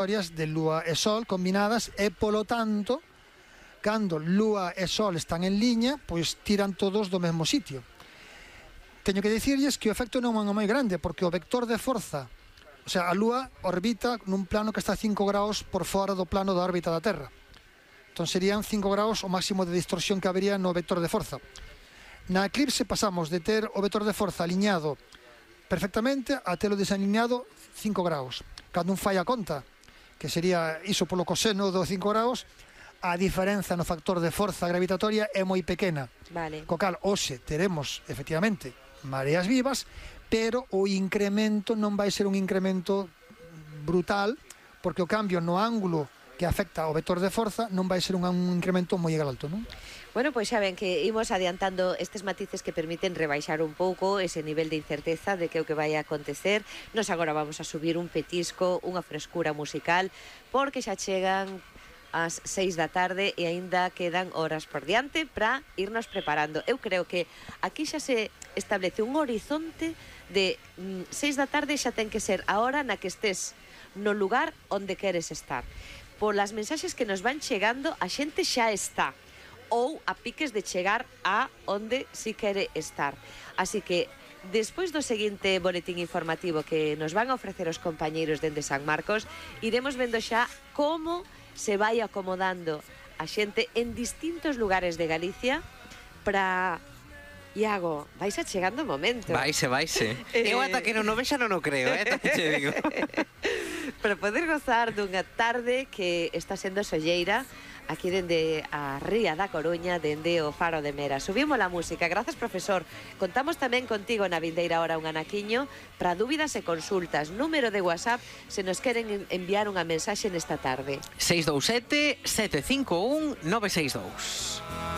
historias de lúa e sol combinadas e, polo tanto, cando lúa e sol están en liña, pois tiran todos do mesmo sitio. Teño que dicirlles que o efecto non é moi grande, porque o vector de forza, o sea, a lúa orbita nun plano que está 5 graus por fora do plano da órbita da Terra. Entón serían 5 graus o máximo de distorsión que habería no vector de forza. Na eclipse pasamos de ter o vector de forza aliñado perfectamente a telo desalineado 5 graus. Cando un fai a conta, que sería iso polo coseno do 5 graus, a diferenza no factor de forza gravitatoria é moi pequena. Vale. Co cal, hoxe teremos, efectivamente, mareas vivas, pero o incremento non vai ser un incremento brutal, porque o cambio no ángulo que afecta ao vector de forza non vai ser un incremento moi alto, non? Bueno, pois xa ven que imos adiantando estes matices que permiten rebaixar un pouco ese nivel de incerteza de que o que vai a acontecer. Nos agora vamos a subir un petisco, unha frescura musical, porque xa chegan ás 6 da tarde e aínda quedan horas por diante para irnos preparando. Eu creo que aquí xa se establece un horizonte de 6 da tarde xa ten que ser a hora na que estés no lugar onde queres estar. Polas mensaxes que nos van chegando, a xente xa está ou a piques de chegar a onde si quere estar. Así que, despois do seguinte boletín informativo que nos van a ofrecer os compañeiros dende San Marcos, iremos vendo xa como se vai acomodando a xente en distintos lugares de Galicia para... Iago, vais a chegando o momento. Vaise. Eu ata que non o vexa non o creo, tamén te digo. Para poder gozar dunha tarde que está sendo solleira aquí dende a Ría da Coruña, dende o Faro de Mera. Subimos a música. Grazas, profesor. Contamos tamén contigo na vindeira hora un anaquiño para dúbidas e consultas. Número de WhatsApp se nos queren enviar unha mensaxe nesta tarde. 627 751 962.